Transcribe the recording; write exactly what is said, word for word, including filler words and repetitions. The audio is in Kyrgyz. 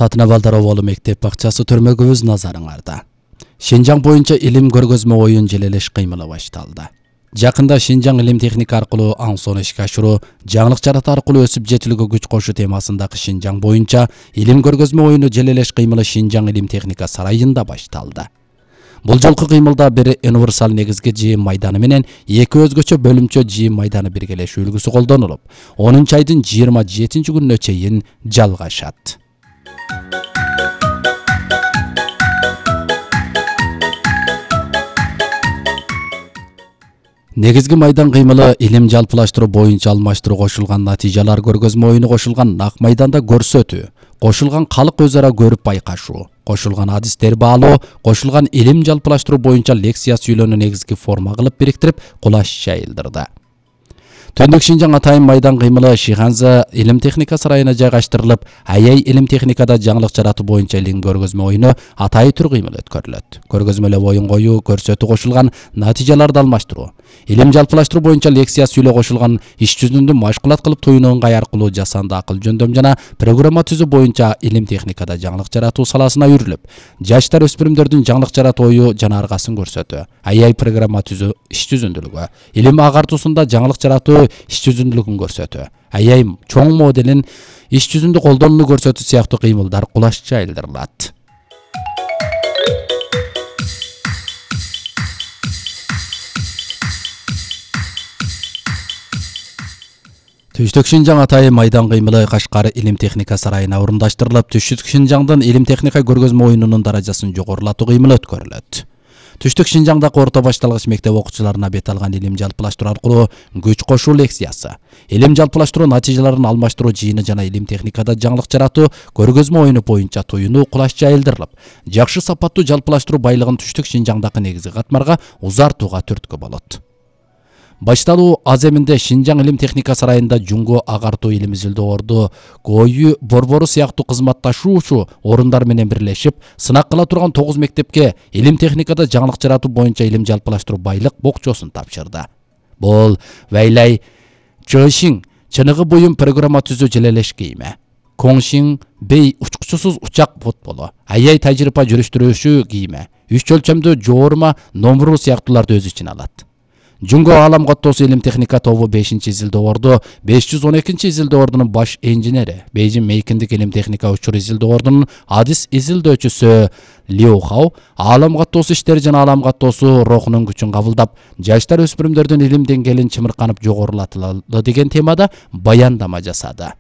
Татына Балдароволу мектеп бакчасы төрмөгүбүз назарыңарда. Шинжаң боюнча илим көргөзмө оюн желелеш кыймылы башталды. Жакында Шинжаң илим техника аркылуу аң соң ишке ашыруу, жаңылык жарата аркылуу өсүп жетилүүгө күч кошуу темасындагы Шинжаң боюнча илим көргөзмө оюну желелеш кыймылы Шинжаң илим техника сарайында башталды. Бул жолку кыймылда бир универсал негизги жыйын майданы менен эки өзгөчө бөлүмчө жыйын майданы биргелешүү үлгүсү колдонулуп, онунчу айдын жыйырма жетинчи күнүнө чейин жалгашат. Негизги майдан кыймылы илим жалпылаштыруу боюнча алмаштыруу кошулган натыйжалар көргөзмө оюну кошулган нак майданда көрсөтүү, кошулган калк өз ара көрүп байкашуу, кошулган адистер баалоо, кошулган илим жалпылаштыруу боюнча лекция сүйлөөнү негизги форма кылып бириктирип, кулаш жайылдырды. Төндүк Шинжаң атайын майдан кыймылы Шиханза илим техника сарайына жайгаштырылып, Аяй илим техникада жаңылык жаратуу боюнча илим көргөзмө оюну атайы түр кыймыл өткөрүлөт. Көргөзмөлөп оюн коюу, көрсөтүү кошулган натыйжаларды алмаштыруу, илим жалпылаштыруу боюнча лекция сүйлөө кошулган иш жүзүндө машкулат кылып туюну ыңгай аркылуу жасанды акыл жөндөм жана программа түзүү боюнча илим техникада жаңылык жаратуу саласына үйрүлүп, жаштар өспүрүмдөрдүн жаңылык жаратуу ою жана аргасын көрсөтүү, Аяй программа түзүү иш жүзүндүүлүгү, илим агартуусунда жаңылык жаратуу иш жүзүндүүлүгүн көрсөтүү, Аяй чоң моделин иш жүзүндө колдонууну көрсөтүү сыяктуу кыймылдар кулаш жайылдырылат. Түштүк Шинжаң атайын майдан кыймылы Кашкар илим техника сарайына орундаштырылып, Түштүк Шинжаңдын илим техника көргөзмө оюнунун даражасын жогорулатуу кыймылы өткөрүлөт. Түштүк Шинжаңдагы орто башталгыч мектеп окуучуларына бет алган илим жалпылаштыруу аркылуу күч кошуу лекциясы, илим жалпылаштыруу натыйжаларын алмаштыруу жыйыны жана илим техникада жаңылык жаратуу көргөзмө оюну боюнча туюну кулаш жайылдырылып, жакшы сапаттуу жалпылаштыруу байлыгын Түштүк Шинжаңдагы негизги катмарга узартууга түрткү болот. Башталуу аземинде Шинжаң илим техника сарайында жуңго агартуу илим изилдөөрдү Кою борбору сыяктуу кызматташуучу орундар менен бирлешип, сынак кыла турган тогуз мектепке илим техникада жаңылык жаратуу боюнча илим жалпылаштыруу байлык бокчосун тапшырды. Бул Вэйлай Чөшиң чыныгы буюм программа түзүү желелеш кийими, Коңшиң бей учкучусуз учак футболу, Аяй тажрыйба жүрүштүрүүчү кийими, үч өлчөмдүү жоорма номуру сыяктууларды өз ичине алат. Жуңго Алам Каттоосу илим техника тобу бешинчи изилдөө беш жүз он экинчи изилдөө баш инженери, Бейжин Мейкиндик илим техника учур изилдөө адис изилдөөчүсү Лиу Хау, Алам Каттоосу иштери жана Алам Каттоосу рухунун күчүн кабылдап, жаштар өспүрүмдөрдүн илим деңгээлин чымырканып жогорулатылды деген темада баяндама жасады.